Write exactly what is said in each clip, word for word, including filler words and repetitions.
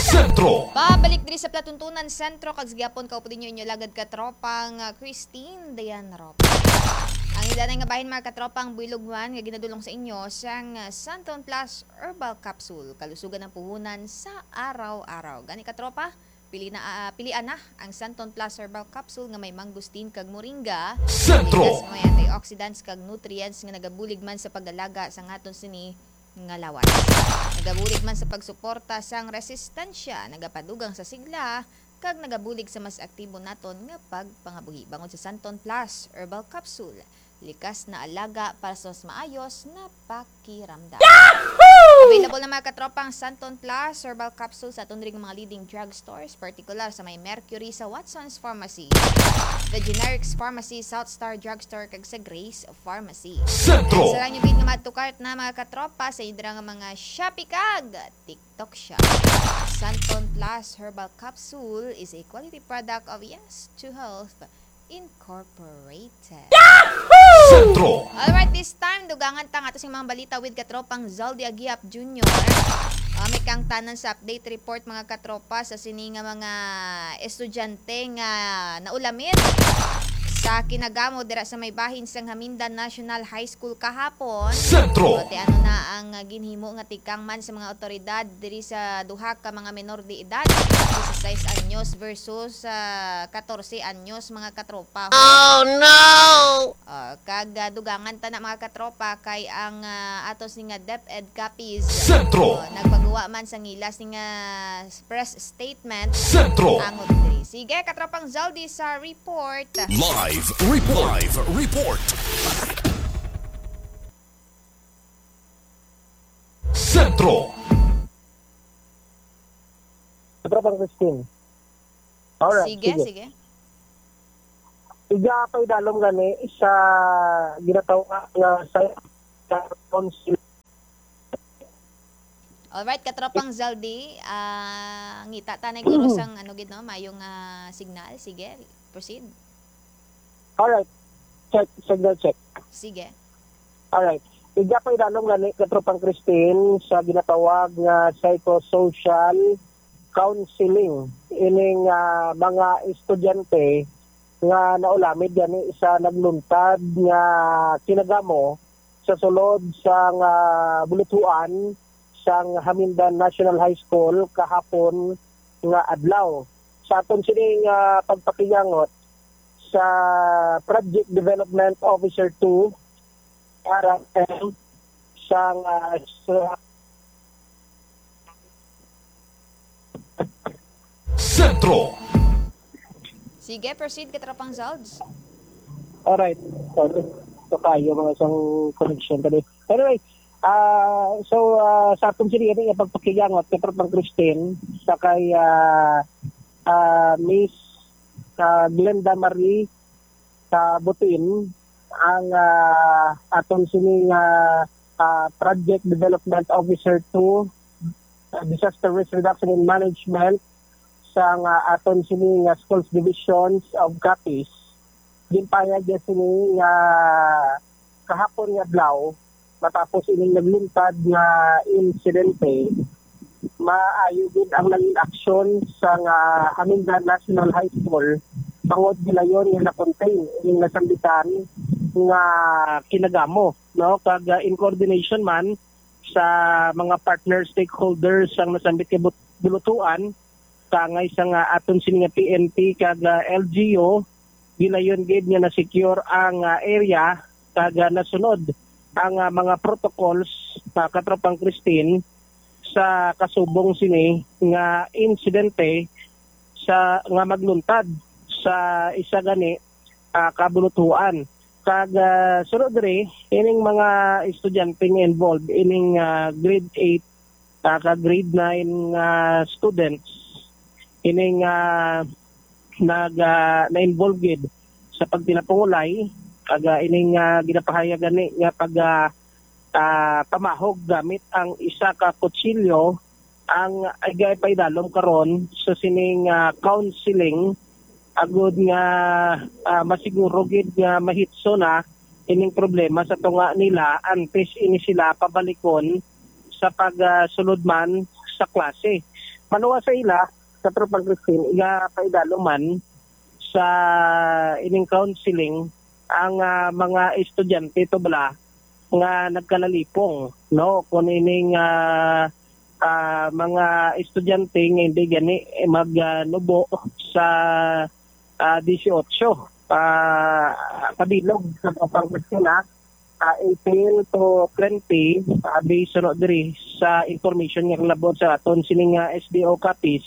Sentro. Pabalik diri sa Platuntunan Sentro, kag sa gihapon, kaupod ninyo inyo lagad katropang, ah, Christine Dayan Rob. Ang ilanay nga bahin, mga katropang, buylog man nga ginadulong sa inyo sang, ah, Santon Plus Herbal Capsule, kalusugan ang puhunan sa araw-araw. Gani, katropa, pili na, ah, pilian na ang Santon Plus Herbal Capsule nga may mangosteen kag moringa. Sentro. May antioxidants kag nutrients nga nagabulig man sa pag-alaga sa aton sini nga lawas. Nagabulig man sa pagsuporta sang resistensya, nagapadugang sa sigla, kag nagabulig sa mas aktibo naton nga pagpangabuhi. Bangod sa Santon Plus Herbal Capsule, likas na alaga para sa mas maayos na pakiramdam. Available na, mga katropang, Santon Plus Herbal Capsule sa aton diri nga mga leading drugstores, partikular sa may Mercury sa Watson's Pharmacy, The Generics Pharmacy, South Star Drugstore, kag sa Grace Pharmacy. Sentro. Sa lang yung gid nga madto cart na, mga katropa, sa indra nga mga Shopee kag TikTok Shop. Santon Plus Herbal Capsule is a quality product of Yes to Health Incorporated. Sentro. Alright, this time, dugangan ta nga ato sing mga balita with katropang Zaldi Agiap Junior. Ah, may kang tanan sa update report, mga katropa, sa sini nga mga estudyante nga naulamid sa kinagamo dira sa may bahin sang Hamindan National High School kahapon. Sentro. Pati ano na ang, ah, ginhimo nga tikang man sa mga otoridad diri sa duha ka mga menor de edad, disisais anyos versus, ah, katorse anyos, mga katropa. Oh no! Ah, kag, ah, dugangan ta na, mga katropa, kay ang, ah, ato sini nga DepEd Capiz, Sentro. oh, nagpagawa man sang ila sini nga press statement. Sentro. Ang diri. Sige, katropang Zaldi sa report. Live report. Live report. Sentro. Katropang Christine. Alright, Sige, sige. Sige. Iga pa idalom gani sa ginatawag nga sa, sa council. Alright, katropang Zaldi, ah, ngita ta na guro sang ano gid, no, mayong, ah, signal. Sige, proceed. Alright. Check, signal check. Sige. Alright. Iga pa idalom gani, katropang Christine, sa ginatawag nga psychosocial counseling ining, ah, mga estudyante nga naulamid gani sa nagluntad nga kinagamo sa sulod sang, ah, buluthuan sang Hamindan National High School kahapon nga adlaw. Sa aton sini nga pagpakiyangot sa Project Development Officer two, R M, sang, ah, sa Sentro. Sige, proceed, katropang Zalds. Alright. So, so kayo mga isang connection tadi. Anyway, ah so ah, sa aton sini nga pagpakiyangot kay Katropang Christine sa kay ah, ah, Miss ah, Glenda Marie sa Butin ang ah, aton sini nga ah, Project Development Officer two, ah, Disaster Risk Reduction and Management sa nga aton sini nga Schools Divisions of Capiz. Ginpahayag niya sini nga kahapon nga adlaw, matapos ining nagluntad nga insidente, maayo gid ang naging aksyon sa nga Hamindan National High School, bangod gilayon nga na-contain ining nasambitan nga kinagamo, no? Kag, ah, in coordination man sa mga partner stakeholders sang nasambit nga but-, bulutuan, kangay sa nga aton sini nga P N P kag, ah, L G U, gilayon gid nga na-secure ang, ah, area kag, ah, nasunod ang, ah, mga protocols, ah, Katropang Christine, sa kasubong sini nga insidente sa, nga magluntad sa isa gani, ah, ka bulutuan. Kag, ah, sunod diri, ining mga estudyante nga involved ining, ah, grade eight, ah, kag grade nine nga students, ining, ah, nag, ah, na-involve gid sa pagtinapungulay, kag, ah, ining, ah, ginapahayag gani nga pag, ah, ah, pamahog gamit ang isa ka kutsilyo ang iga paidalom karon sa sining, ah, counseling, agud nga, ah, masiguro gid nga mahitso na ining problema sa tunga nila antes ini sila pabalikon sa pag, ah, sulod man sa klase. Maluwas sa ila, Katropang Christine, iga paidalo man sa ining counseling ang, ah, mga estudyante to bala nga nagkalalipong, no? Kung ining, ah, ah, mga estudyante nga hindi gani, eh, mag, ah, nubo sa, ah, disiotso, ah, kabilog sa Katropang Christine, ah, eighteen to twenty, ah, based suno diri sa information nga nalabot sa aton sini nga S D O copies,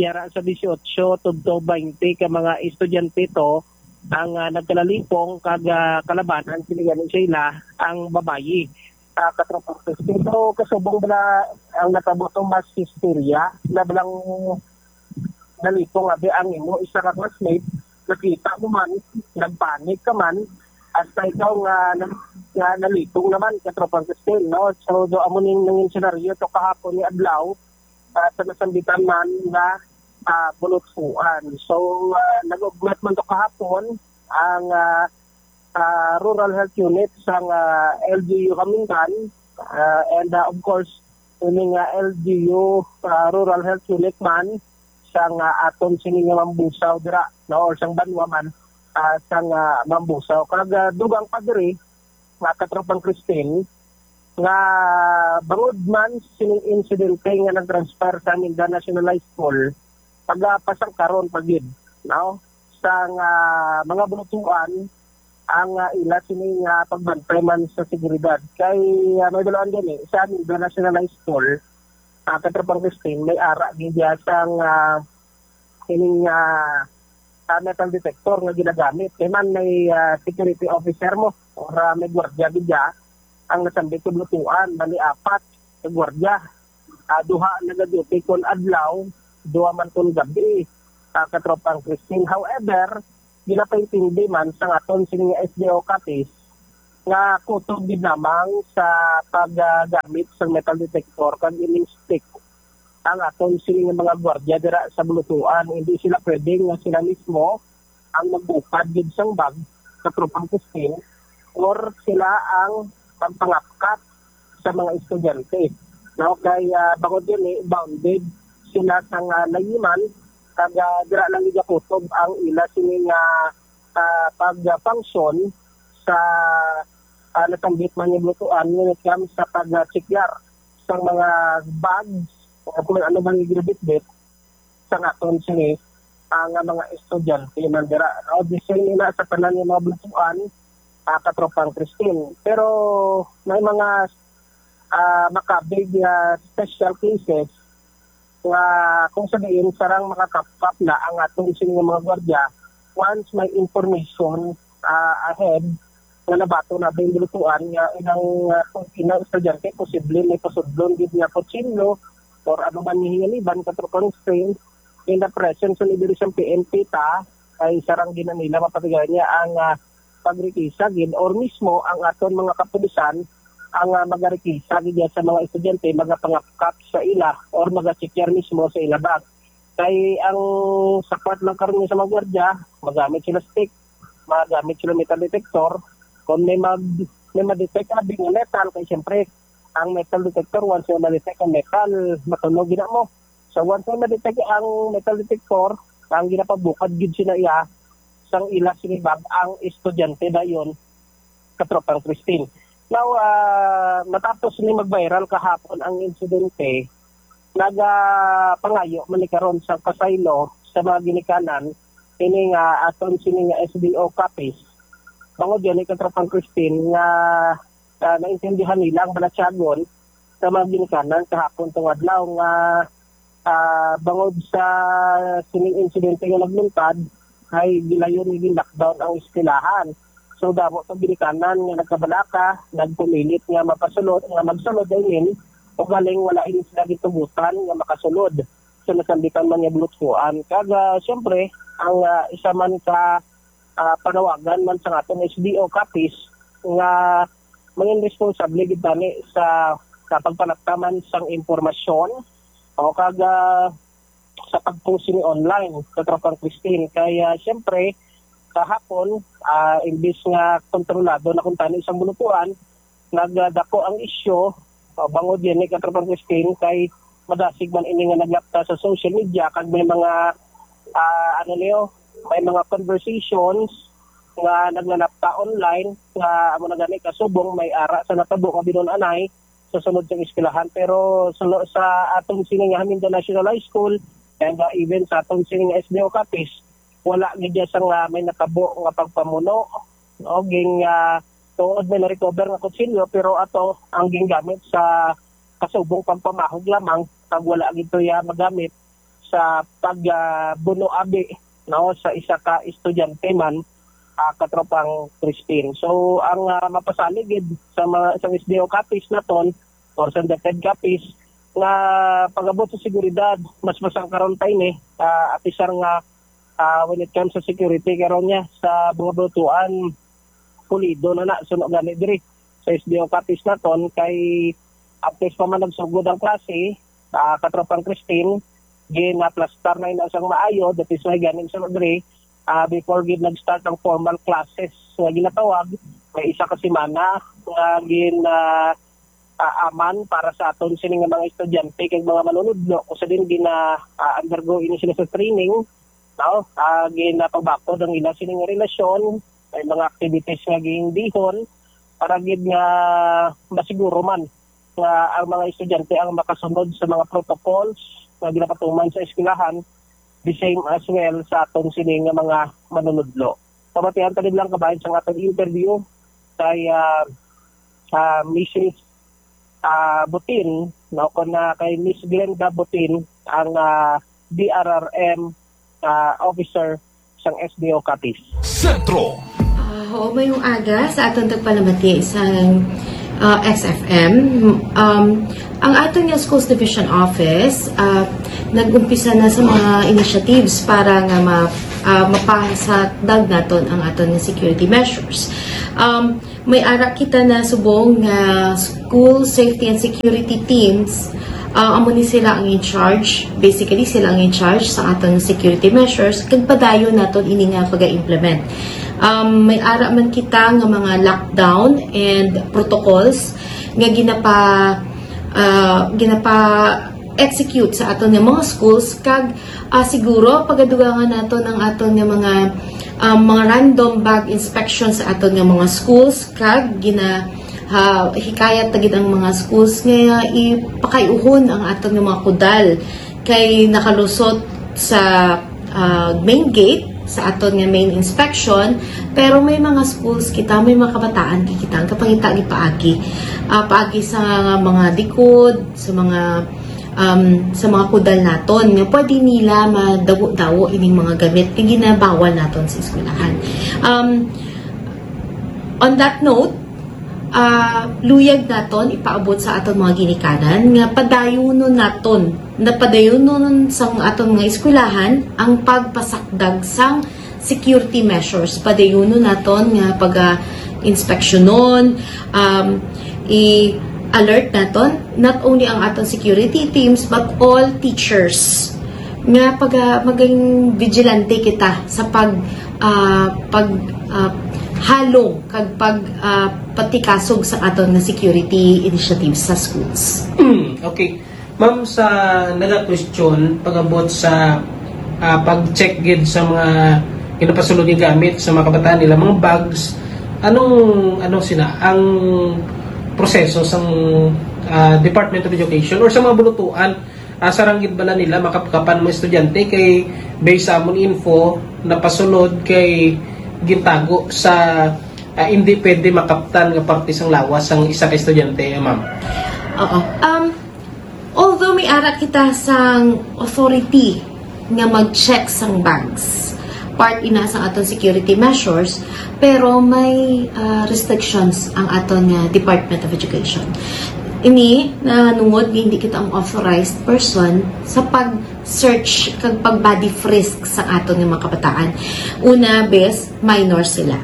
yara sa disiotso tubto twenty ka mga estudyante to ang, ah, nagkalalipong kag, ah, kalabanan sini gani sa ila ang babayi. Ah, Katropang Christine, so kasubong bala ang nakabuto mas histerya na balang nalipong abi ang imo isa ka classmate, nakita mo man, nagpanik ka man, hasta ikaw nga, nga nalipong naman, Katropang Christine, no? So, do amo ning nangin senaryo to kahapon ni adlaw, ah, sa nasambitan man nga, ah, bulutsuan. So, ah, nag-ugmat man to kahapon ang, ah, ah, Rural Health Unit sang, ah, L G U Kamingan, ah, and, ah, of course, ini nga L G U, ah, Rural Health Unit man sang, ah, aton sini nga Mambusaw dira, no, or sang banwa man, ah, sang, ah, Mambusaw. Kag, ah, dugang pa diri, nga Katropang Christine, nga bangod man sining insidente nga nag-transpire sa Mindanao National High School, pagapasang karon pa gid, no? Sang, ah, mga bulutuan ang, ah, ila sini nga pagbantay man sa seguridad. Kay, ah, may balaan gani sa Mindanao National High School, ah, Katropang Christine, may ara gid diya sang, ah, ining, ah, ah, metal detector nga ginagamit. Kay man may, ah, security officer mo or, ah, may gwardiya gid diya ang nasambit sa bulutuan, bali apat ka gwardiya. Ah, duha nagaduty kon adlaw, duha man kon gabi, ah, Katropang Christine. However, ginapaintindi man sang aton sini nga S D O Capiz nga kutob gid lamang sa paggamit sang metal detector kag ining stick ang aton sini nga mga gwardiya dira sa bulutuan. Hindi sila pwede nga sila mismo ang magbukad gid sang bag, Katropang Christine, or sila ang magpangapkap sa mga estudyante. No, kay, ah, bangod gani, bounded sila sang, ah, layunan, kag, ah, dira lang gigakutob ang ila sini nga, ah, pag-function sa, ah, natanggit man nga bulutuan when it comes sa pag-checkar sang mga bags o kung ano man nga ginabitbit sang aton sini, ah, nga mga estudyante man dira, no? The same ina sa tanan nga mga bulutuan, ah, Katropang Christine. Pero may mga, ah, makabig nga special cases nga kung sa diin sarang makakapkap na ang aton sini nga mga gwardiya once may information, ah, ahead nga nabaton na ba yung bulutuan nga inang, ah, inang estudyante posible may pasudlon gid nga kutsilyo or ano man nga hinganiban, Katropang Christine, in the presence of leaders ng P N P ta, ay sarang gid na nila mapatigayan niya ang, ah, pagrekisa gid or mismo ang aton mga kapulisan ang, ah, magarikisa gid sa mga estudyante, magapangapkap sa ila or magacheckar mismo sa ila bag. Kay ang sapat lang karon nga sa mga gwardiya, magamit sila stick, magamit sila metal detector. Kung may mag-, may ma-detect abi nga metal, kay siyempre, ang metal detector, once may ma-detect ang metal, matunog gina mo. So, once may ma-detect ang metal detector, ang ginapabukad gid sina iya, sang ila sini bag ang estudyante dayon, Katropang Christine. Now, ah, matapos ni mag-viral kahapon ang insidente, nagapangayo man ni karon sa pasaylo sa mga ginikanan ini nga aton sini nga S D O Capiz. Bangod gani, Katropang Christine, nga, ah, naintindihan nila ang balatyagon sa mga ginikanan kahapon tong adlaw nga, ah, bangod sa sining insidente nga nagluntad, ay gilayon nga gin-lockdown ang eskwelahan. So, damo sa ginikanan nga nagkabalaka, nagpumilit nga mapasulod, nga magsulod, I mean, ugaling wala ini sila gitugutan nga makasulod sa nasambitan man nga bulutsuan. Kag, ah, siyempre, ang, ah, isa man ka, ah, panawagan man sa aton S D O Capiz nga mangin responsable gid tani sa, sa pagpanaptaman sang impormasyon o kag, ah, sa pag-post sini online, Katropang Christine. Kaya, siyempre, kahapon, ah, imbis nga kontrolado na kuntani sang bulutuan, nagdako ang isyu, ah, bangod yan ni Katropang Christine, kay madasig man ini nga naglapta sa social media, kag may mga, ah, ano niyo, may mga conversations nga naglalapta online nga amo na gani kasubong may ara sa natabo nga binun-anay sa sulod sa eskwelahan. Pero sulo sa atong sini nga Jacinto National High School and, uh, even sa atong sini nga S D O Capiz, wala gid siya nga may natabo nga pagpamuno, no? Ging, ah, tuod may na-recover nga kutsilyo, pero ato ang gingamit sa kasubong pagpamahog lamang, kag wala gid to iya magamit sa pag, ah, buno abi, no, sa isa ka estudyante man, ah, katropang Crispin. So, ang, ah, mapasalig gid sa mga, sa S D O Capiz naton or sa DepEd Capiz nga pag-abot sa seguridad, mas masangkaron pa ini, ah, apisar nga, ah, when it comes sa security, karon niya sa mga bulutuan, pulido na na, suno gani diri sa S D O Capiz naton, kay apis pa man nagsugod ang klase, ah, katropang Crispin, ginaplastar na ina sang maayo, that is why ganing sa Rodri, ah, before gid nag-start ang formal classes nga ginatawag, may isa ka semana nga gin, ah, ah, aman para sa aton sini nga mga estudyante kag mga manunudlo, kung sa din gina, ah, undergo ini sila sa training, no? Ah, ginapagbakod ang ila sini nga relasyon, may mga activities nga gindihon para gid nga masiguro man nga ang mga estudyante ang makasunod sa mga protocols nga ginapatuman sa eskwelahan, the same as well sa aton sini nga mga manunudlo. Pamatian ta lang kabahin sa aton interview kay, ah, ah, Missus, ah, Butin, no, kon, ah, kay Miss Glenda Butin, ang, ah, D R R M, ah, officer sang S D O Capiz. Sentro. Ah, oo, mayong aga sa aton tagpalamati sa, ah, X F M. Um, ang aton nga Schools Division Office, ah, nag-umpisa na sa mga initiatives para nga ma, ah, mapasakdag naton ang aton nga security measures. Um, may ara kita na subong nga school safety and security teams. Ah, amo ni sila ang in charge. Basically, sila ang in charge sa aton security measures. Kag padayon naton ini nga pag-implement. Um, may ara man kita nga mga lockdown and protocols nga ginapa, ah, ginapa-execute sa aton nga mga schools, kag, ah, siguro pagadugangan naton ang aton nga mga, ah, mga random bag inspection sa aton nga mga schools, kag gina, ah, hikayat ta gid ang mga schools nga ipakay-uhon ang aton nga mga kudal kay nakalusot sa, ah, main gate sa aton nga main inspection, pero may mga schools kita, may mga kabataan kita ang kapangita gipaagi, ah, paagi sa mga likod, sa mga, um, sa mga kudal naton nga pwede nila madawo-dawo ining mga gamit nga ginabawal naton sa eskwelahan. Um, on that note, ah, luyag naton ipaabot sa aton mga ginikanan nga padayunon naton, napadayunon sang aton mga eskwelahan ang pagpasakdag sang security measures. Padayunon naton nga paga-inspeksyonon, um, i-alert naton not only ang aton security teams but all teachers nga paga maging vigilante kita sa pag, ah, pag, ah, halong kag pag, ah, patikasog sa aton nga security initiatives sa schools. Okay. Ma'am, sa nagaka-question pag-abot sa, ah, pag-check gid sa mga ginapasulod nga gamit sa mga kabataan nila, mga bags, anong, anong sina ang proseso sang, ah, Department of Education or sa mga bulutuan, ah, sarang gid bala nila makapkapan mga estudyante kay based sa amon info napasulod kay gintago sa, ah, hindi pwede makaptan nga parte sang lawas sang isa ka estudyante, ma'am? Oo. Um, although may ara kita sang authority nga mag-check sang bags, part ina sang aton security measures, pero may, ah, restrictions ang aton nga Department of Education. Ini nanungod nga hindi kita ang authorized person sa pag-search kag pag-body frisk sa aton nga mga kabataan. Una, bes, minor sila.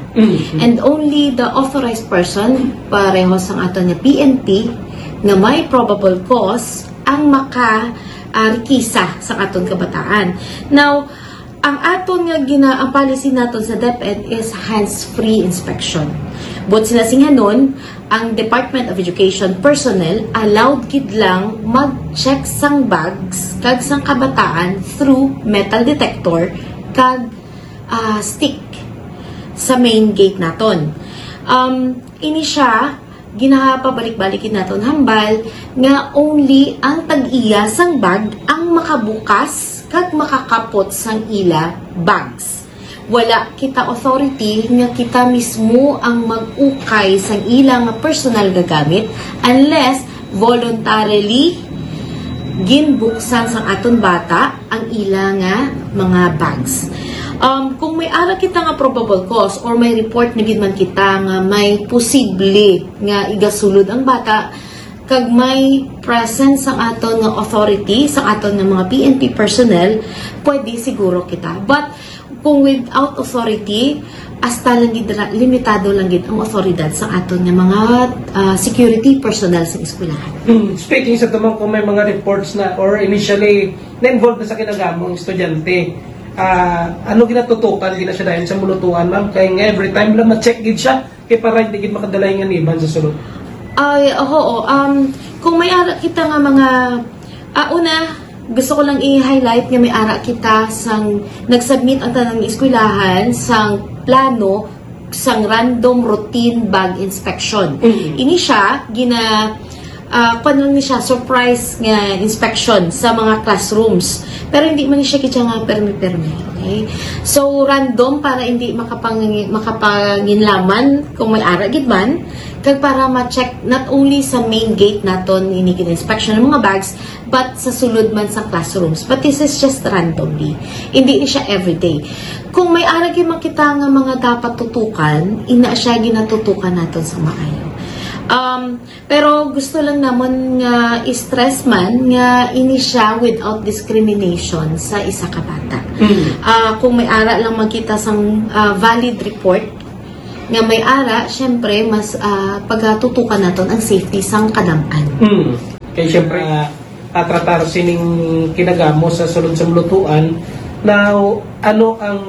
And only the authorized person, pareho sang aton nga P N P, nga may probable cause ang maka, ah, rekisa sa aton kabataan. Now, ang aton nga gina ang policy naton sa DepEd is hands-free inspection. Buot sinasinganon, ang Department of Education personnel allowed gid lang mag-check sang bags kag sang kabataan through metal detector kag, ah, stick sa main gate naton. Um, ini siya, ginapabalik-balik gid naton hambal nga only ang tag-iya sang bag ang makabukas kag makakapot sang ila bags. Wala kita authority nga kita mismo ang mag-ukay sang ila nga personal nga gamit unless voluntarily ginbuksan sang aton bata ang ila nga mga bags. Um, kung may ara kita nga probable cause or may report na gid man kita nga may posible nga igasulod ang bata, kag may presence sang aton nga authority, sang aton nga mga P N P personnel, pwede siguro kita. But kung without authority, hasta lang gid ra, limitado lang gid ang otoridad sa aton nga mga, ah, security personnel sa eskwelahan. Hmm, speaking sa tumang, kung may mga reports na or initially na-involved na sa kinagamo ang estudyante, ah, ano ginatutukan gina siya dahil sa mulutuan, ma'am? Kay nga every time lang ma-check gid siya, kay para hindi gid makadala yung aniban sa sulod. Ay, oo. Um, kung may ara kita nga mga, ah, una, gusto ko lang i-highlight nga may ara kita sang nag-submit ang tanang eskwelahan sang plano sang random routine bag inspection. Mm. Ini siya, gina, ah, kwan lang ni siya, surprise nga inspection sa mga classrooms. Pero hindi man ni siya kitsa nga permi-permi. Okay? So, random para hindi makapang-, makapanginlaman kung may ara gid man. Kag para ma-check not only sa main gate naton ini gina-inspection ng mga bags, but sa sulod man sa classrooms. But this is just randomly. Hindi ni siya everyday. Kung may ara gid man kita nga mga dapat tutukan, ina siya ginatutukan naton sa maayo. Um, pero gusto lang namon nga i-stress man nga ini siya without discrimination sa isa ka bata. Mm. Ah, kung may ara lang makita sang, ah, valid report nga may ara, syempre, mas, ah, pagatutukan naton ang safety sang kadam-an. Mm. Kay syempre, ah, ah, tratar sining kinagamo sa sulod sa mulutuan, na ano ang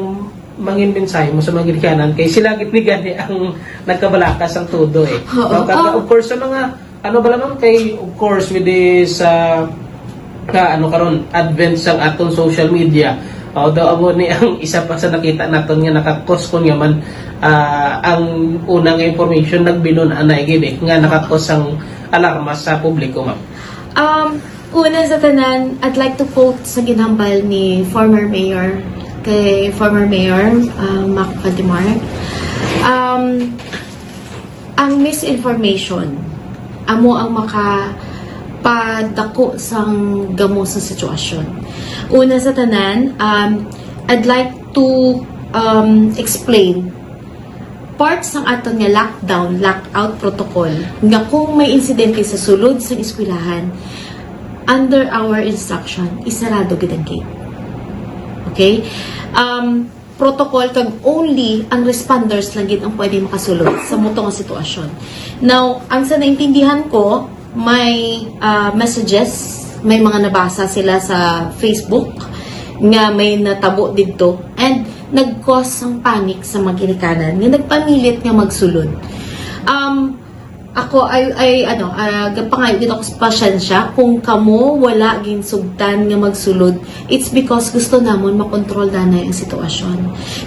mangin mensahe mo sa mga ginikanan? Kay sila gid ni gani ang nagkabalaka sang todo, eh. Oo. No, kag, ah, of course, sa mga, ano bala, ma'am, kay, of course, with this, ah, ka, ano, karon, advent sang atong social media, although amo ni ang isa pa sa nakita naton nga nakakos kon nga man, ah, ang una nga information nagbilon anay gid, eh, nga nakakos ang alarma sa publiko, ma'am. Um, una sa tanan, I'd like to quote sa ginhambal ni former mayor, kay former mayor, uh, Mac Faldemar. Um, ang misinformation, amo ang makapadako sang gamo sa sitwasyon. Una sa tanan, um, I'd like to, um, explain part sang aton nga lockdown, lockout protocol, nga kung may insidente sa sulod sang eskwelahan, under our instruction, isarado gid ang gate. Okay? Um, protocol kag only ang responders lang gid ang pwede makasulod sa muto nga sitwasyon. Now, ang sa naintindihan ko, may, ah, messages, may mga nabasa sila sa Facebook nga may natabo didto, and nag-cause sang panic sa mga ginikanan nga nagpamilit nga magsulod. Um, ako, ay, ay, ano, ah, gapangayo gid ako sa pasyensya kung kamo wala ginsugtan nga magsulod. It's because gusto namon makontrol danay ang sitwasyon.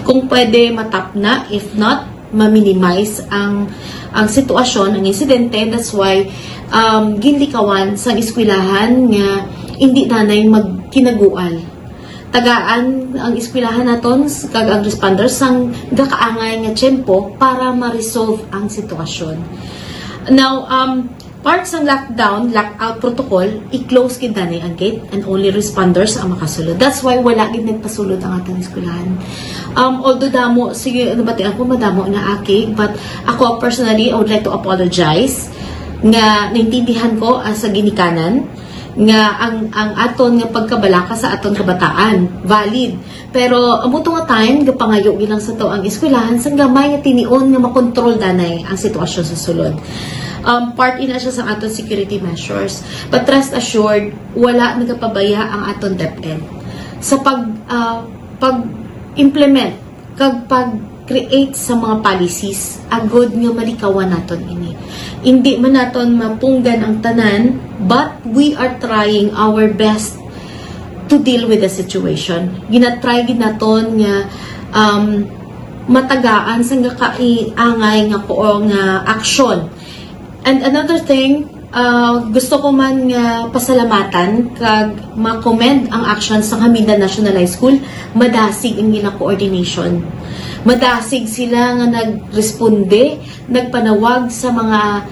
Kung pwede, matapna. If not, ma-minimize ang, ang sitwasyon, ang insidente. That's why, um, ginlikawan sang eskwelahan nga hindi danay magkinagual. Tagaan ang eskwelahan naton s-, kag ang responders sang gakaangay nga tiyempo para ma-resolve ang sitwasyon. Now, um, part sang lockdown, lockout protocol, i-close gid danay ang gate and only responders ang makasulod. That's why wala gid nagpasulod ang atong eskwelahan. Um, although damo, sige, nabatian ko, madamo na aki, but ako personally, I would like to apologize nga naintindihan ko, ah, sa ginikanan nga ang, ang aton nga pagkabalaka sa aton kabataan, valid. Pero amo to nga time, gapangayo gid lang sa to ang eskwelahan sang gamay nga tinion nga makontrol danay ang sitwasyon sa sulod. Um, part ina siya sa aton security measures. But rest assured, wala nagapabaya ang aton DepEd sa pag, ah, pag-implement kag pag, create sa mga policies agud nga malikawan naton ini. Hindi man naton mapunggan ang tanan, but we are trying our best to deal with the situation. Ginatry gid naton nga, um, matagaan sang gakaangay nga ko nga aksyon. And another thing, uh, gusto ko man nga pasalamatan kag ma-commend ang action sa Haminda National High School. Madasig ang ila coordination. Madasig sila nga nagresponde, nagpanawag sa mga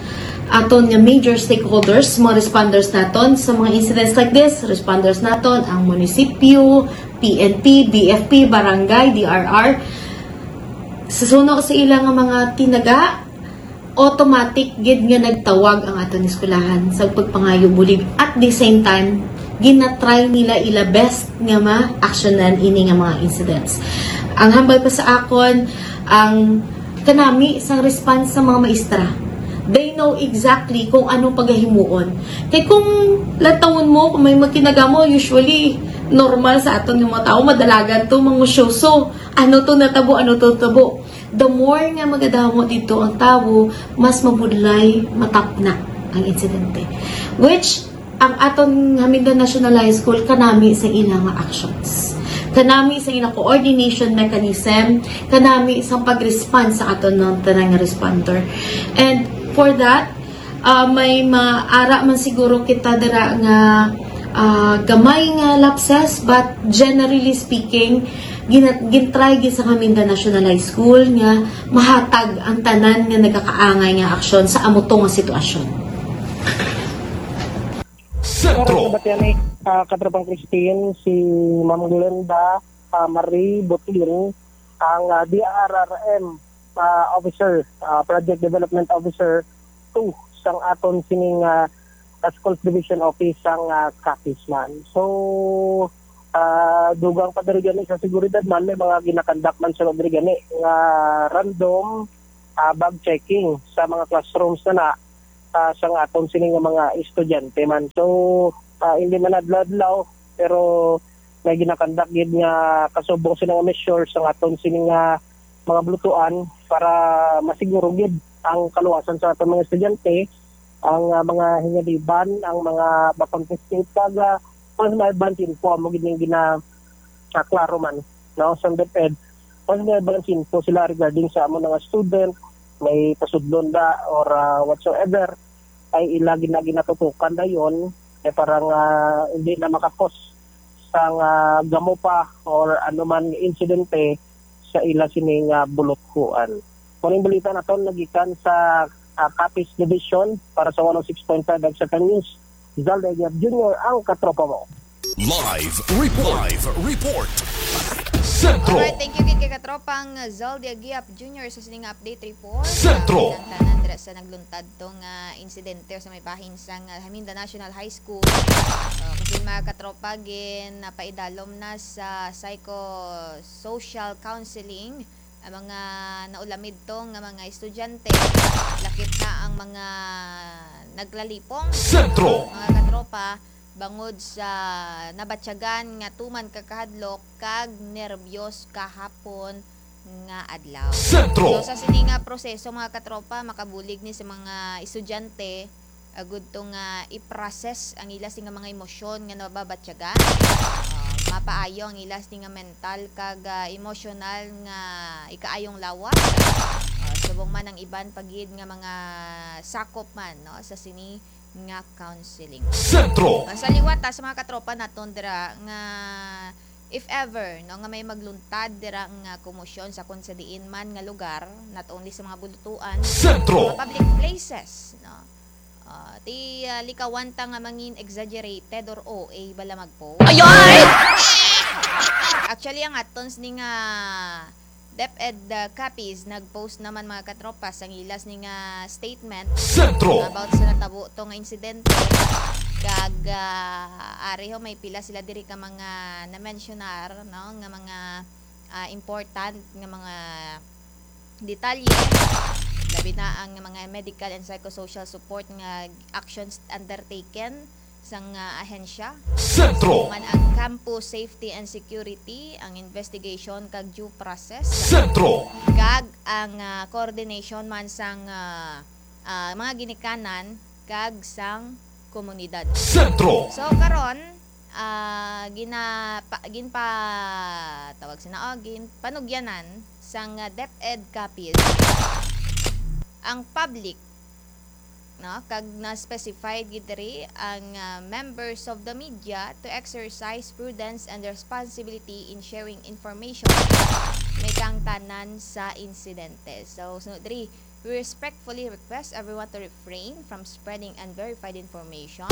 aton nga major stakeholders, mga responders naton sa mga incidents like this, responders naton, ang munisipyo, P N P, B F P, barangay, D R R. Sa suno sa ila nga mga tinaga, automatic gid nga nagtawag ang aton eskwelahan sa pagpangayo bulig. At the same time, ginatry nila ila best nga ma-actionan ini nga mga incidents. Ang hambal pa sa akon, ang kanami sang response sa mga maestra. They know exactly kung anong pagahimuon. Kay kung lantawon mo, kung may magkinagamo, usually, normal sa aton nga mga tao, madalagan to, mangusyoso. Ano to natabo, ano to natabo. The more nga magadamo dito ang tawo, mas mabudlay, matapna ang insidente. Which, ang aton Haminda National High School, kanami sa ila nga actions. Kanami sa ila coordination mechanism, kanami sa pag-respond sa aton ng tanang responder. And for that, ah, may maara man siguro kita dira nga, ah, gamay nga lapses, but generally speaking, gina-, gintry gid sa Haminda National High School nga mahatag ang tanan nga nagakaangay nga aksyon sa amo to nga sitwasyon. Sentro. Para sa Batiani, ah, Katropang Christine, si Ma'am Glenda, ah, Marie Butin, ang, ah, D R R M, ah, officer, ah, Project Development Officer two sang aton sining, ah, Task Force Division Office sang, ah, Capiz man. So, ah, dugang pa diri gani sa seguridad man, may mga ginakandak man sa diri gani nga random, ah, bag checking sa mga classrooms na na, ah, sang aton sini nga mga estudyante man. So, ah, hindi man adlaw-adlaw, pero may ginakandak gid nga kasubong sini nga measure sang aton sini nga mga bulutuan para masiguro gid ang kaluwasan sa aton mga estudyante, ang, ah, mga hingaliban, ang mga ma-confiscate kag, ah, mas may advance info amo gid ning gina-, ah, klaro man, no, sa DepEd. Mas may advance info sila regarding sa amo nga student, may pasudlon ba or, ah, whatsoever, ay ila gina-, ginatutukan dayon, eh, para nga hindi na makakos sang, ah, gamo pa or anuman insidente sa ila sini nga buluthuan. Mao ning balita naton nagikan sa, ah, Capiz Division para sa one oh six point five Extra Time News. Zalda Aguilar Junior, ang katropa mo. Live report. Live report. Sentro. Alright, thank you gid kay katropang Zaldi Agiap Junior sa sining update report. Sentro. Ang tanan dira sa nagluntad to nga insidente sa may bahin sang, ah, Haminda National High School. So, kasi mga katropa, gin napaidalom na sa psychosocial counseling ang mga naulamid to nga mga estudyante, lakip na ang mga naglalipong. Sentro. Mga katropa, bangod sa nabatyagan nga tuman ka kahadlok kag nerbiyos kahapon nga adlaw. Sentro. So, sa sini nga proseso, mga katropa, makabulig ni sa mga estudyante, agud to nga i-process ang ila sini nga mga emosyon nga nababatyagan. Ah, mapaayo ang ila sini nga mental kag, ah, emosyonal nga ikaayong lawas. Ah, subong man ang iban pa gid nga mga sakop man, no, sa sini nga counseling. Sentro. Ah, sa liwat, ah, sa mga katropa naton dira nga if ever, no, nga may magluntad dira nga komosyon sa kon sa diin man nga lugar, not only sa mga bulutuan, Sentro. Mga public places, no? Ah, ti, ah, likawan ta nga mangin exaggerated or O A bala mag-post. Ayoy! Actually, ang aton sini nga DepEd, ah, Capiz nag-post naman, mga katropa, sang ila sini nga statement Sentro. About sa natabo to nga insidente. Kag, ah, ari ho, may pila sila diri ka mga na-mentionar, no, nga mga, ah, important nga mga detalye, labi na ang mga medical and psychosocial support nga actions undertaken sang, ah, ahensya. Sentro. Man ang Campus Safety and Security, ang investigation kag due process, Sentro. Kag ang, ah, coordination man sang, ah, ah, mga ginikanan kag sang komunidad. Sentro. So, karon, ah, gina-, pa-, ginpa-, tawag sina, oh, ginpanugyanan sang, ah, DepEd Capiz ang public, no? Kag na-specified gid diri ang, ah, members of the media to exercise prudence and responsibility in sharing information may kaangtanan sa insidente. So, sunod diri, we respectfully request everyone to refrain from spreading unverified information,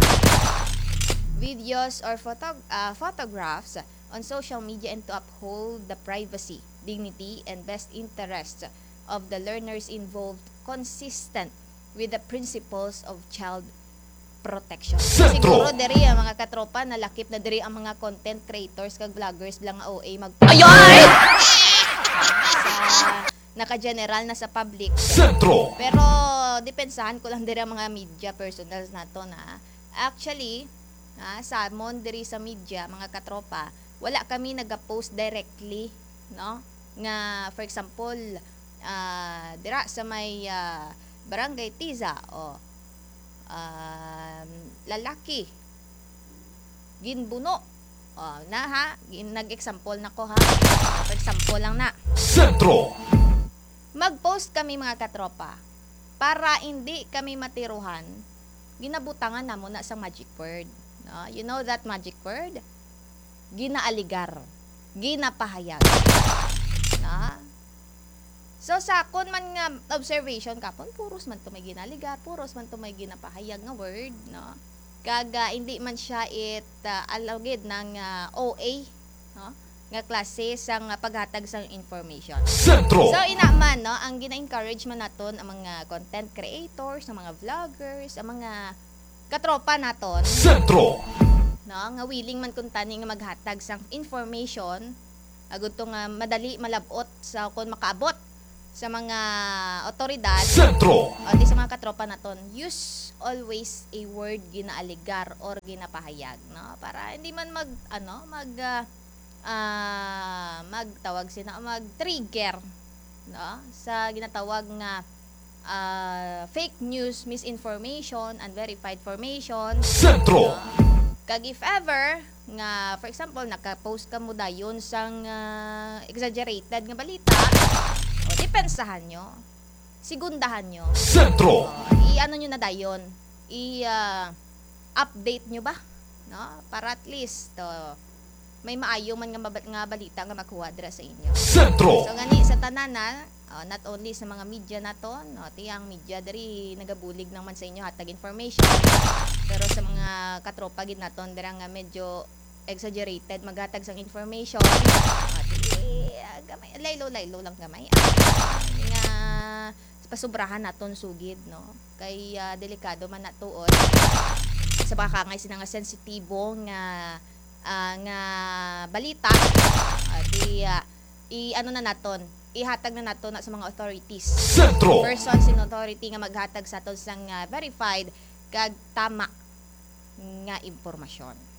videos, or photo-, ah, photographs on social media and to uphold the privacy, dignity, and best interests of the learners involved, consistent with the principles of child protection. Sentro. Siguro diri ang mga katropa, nalakip na diri ang mga content creators kag vloggers lang nga O A mag- Ayoy! Sa, naka-general na sa public. Sentro. Pero depensahan ko lang diri ang mga media personals nato na. Actually, ah, sa amon diri sa media, mga katropa, wala kami nagapost directly, no? Nga, for example, ah, dira sa may, ah, Barangay Tiza, o, um, lalaki, ginbuno. O, na ha, gin-, nag-example na ko ha. O, for example lang na. Sentro. Mag-post kami, mga katropa, para hindi kami matiruhan, ginabutangan namo na sa magic word. No? You know that magic word? Ginaaligar. Ginapahayag. No? So, sa akon man nga observation, kapon, puros man to may ginaligar, puros man to may ginapahayag nga word, no? Kag, ah, hindi man siya it, ah, alagid ng, ah, O A, no? Nga klase sang, ah, paghatag sang information. Sentro. So, ina man, no, ang gina-encourage man naton ang mga content creators, ang mga vloggers, ang mga katropa naton, Sentro. No, nga willing man kuntani nga maghatag sang information, agud to nga madali malab-ot sa kon makaabot sa mga otoridad, Sentro. O di sa mga katropa naton, use always a word ginaaligar or ginapahayag, no? Para hindi man mag, ano, mag, ah, ah, magtawag sina, mag-trigger, no? Sa ginatawag nga, ah, fake news, misinformation, unverified information. Sentro. No? Kag if ever nga, for example, naka-post ka mo dayon sang, ah, exaggerated nga balita, o, depensahan nyo, segundahan nyo. Sentro. O, i-ano nyo na dayon, i, ah, update nyo ba? No? Para at least, o, may maayo man nga maba-, nga balita nga makuha dira sa inyo. Sentro. So, gani sa tanan na, o, not only sa mga media naton, no, ti ang media diri nagabulig lang man sa inyo hatag information, pero sa mga katropa gid naton dira nga medyo exaggerated maghatag sang information, o, ti, ah, gamay, laylo-laylo lang gamay. Ah, hindi nga pasubrahan naton sugid, no? Kay, ah, delikado man na tuod sa baka kangay sina nga sensitibo nga, ah, nga balita, ah, di, ah, i-ano na naton, ihatag na naton na sa mga authorities. Sentro. Persons in authority nga maghatag sa aton sang, ah, verified kag tama nga impormasyon.